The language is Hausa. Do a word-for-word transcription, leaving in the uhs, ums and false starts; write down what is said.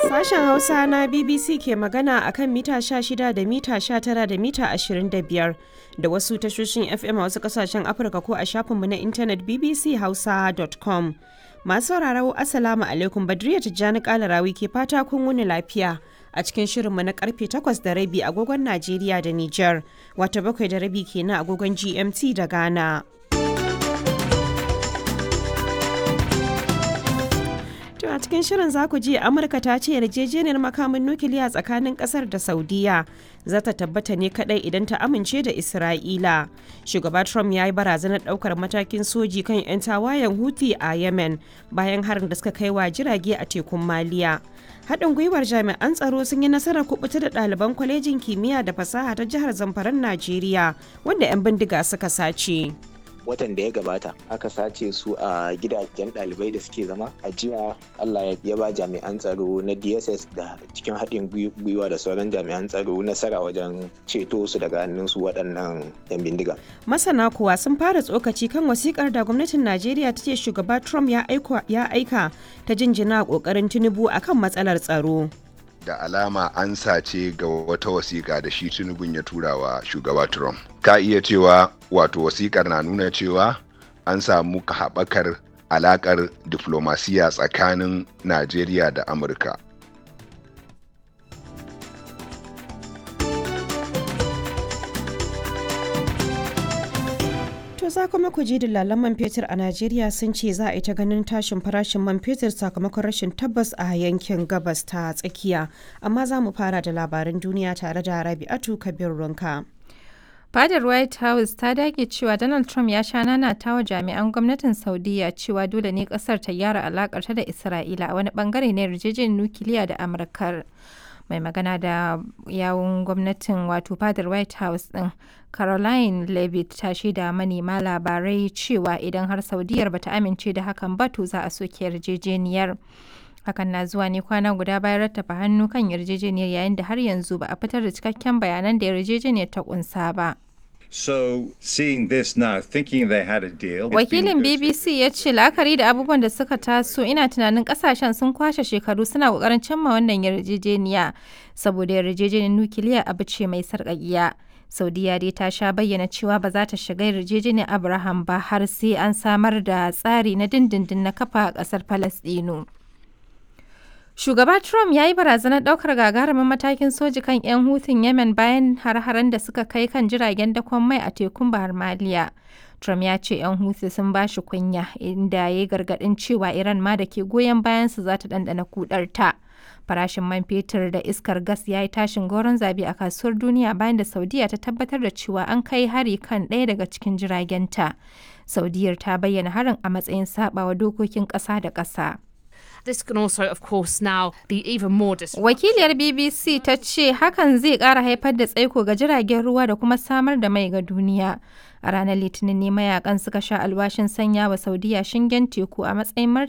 Sashen Hausa na B B C ke magana a kan mita sha shida da mita sha tara da mita ashirin da biyar da wasu tashoshin F M a wasu kasashen Afirka ko a shafinmu na intanet B B C hausa dot com. Masu sauraro, Assalamu alaikum. Badriya Tijjani Kalarawi ke fata kun wuni lafiya a cikin shirinmu na karfe takwas da rabi agogon Najeriya da Nijar, wata bakwai da rabi kenan agogon G M T da Ghana. To, a cikin shirin za ku ji Amurka ta ce yarjejeniyar makamin nukiliya tsakanin kasar da Saudiya za ta tabbata ne kadai idan ta amince da Isra'ila. Shugaba Trump ya yi barazanar daukar matakin soji kan 'yan tawayen Houthi a Yemen bayan harin da suka kai wa jirage a tekun Maliya. Haɗin gwiwar jami'an tsaro sun yi nasarar kubuta da ɗaliban kwalejin kimiyya da fasaha ta jihar Zamfaran Najeriya wanda 'yan bindiga suka sace. Watan da ya gabata aka sace su a gidajen ɗalibai da suke zama a jiya. Allah ya ba jami'an tsaro na D S S da cikin haɗin gwiwa da sauran jami'an tsaro nasara wajen ceto su daga hannun su waɗannan yan bindiga. Masana kuwa sun fara tsokaci kan wasikar da gwamnatin Najeriya ta ce shugaba Trump ya aika ta jinjina kokarin Tinubu akan matsalar tsaro. Da alama an sace ga wata wasiƙa da shi Tinubun ya tura wa shugaba Trump. Ka iya cewa wato wasiƙar na nuna cewa an samu haɓakar alaƙar diflomasiya tsakanin Najeriya da Amurka. To, za kuma ku ji dillalan man fetur a Najeriya sun ce za a yi ta ganin tashin farashin man fetur sakamakon rashin tabbas a yankin Gabas ta Tsakiya. Amma za mu fara da labaran duniya tare da Rabi'atu Kabir Runka. Fadar White House ta dage cewa Donald Trump ya sha nanata wa jami'an gwamnatin Saudiya cewa dole ne kasar ta gyara alakarta da Isra'ila a wani bangare na yarjejeniyar nukiliya da Amurkar. Mai magana da yawun gwamnatin, wato fadar White House din, Caroline Levitt, ta shaida manema labarai cewa idan har Saudiyar bata amince da hakan ba, to za a soke yarjejeniyar. Hakan na zuwa ne kwana guda bayan rattafa hannu kan yarjejeniyar, yayin da har yanzu ba a fitar da cikakken bayanan da yarjejeniyar ta kunsa ba. So, seeing this now, thinking they had a deal. Wakilin B B C ya ce la'akari da abubuwan da suka taso, ina tunanin kasashen sun kwashe shekaru suna kokarin cimma wannan yarjejeniya saboda yarjejeniyar nukiliya abu ce mai sarƙaƙiya. Saudiya dai ta sha bayyana cewa ba za ta shiga yarjejeniyar Abraham ba har sai an samar da tsari na dindindin na kafa ƙasar Falasɗinu. Shugaba Trump ya yi barazanar ɗaukar gagarumin matakin soji kan 'yan Hutun Yemen bayan har-haren da suka kai kan jiragen dakon mai a tekun Bahar Maliya. Trump ya ce 'yan Houthi sun ba shi kunya, inda ya yi gargaɗin cewa Iran ma da ke goyon bayansu za ta ɗanɗana kudarta. Farashin man fetur da iskar gas ya yi tashin goron zabi a kasuwar duniya bayan da Saudiya ta tabbatar da cewa an kai hari kan ɗaya daga cikin jiragenta. Saudiyar ta bayyana harin a matsayin saɓawa dokokin ƙasa da ƙasa. This can also, of course, now be even more Wakiliyar B B C ta ce hakan zai ƙara haifar da tsaiko ga jiragen ruwa da kuma samar da mai ga duniya. A ranar Litinin ne mayakan suka sha alwashin sanya wa Saudiya shingen teku a matsayin martani.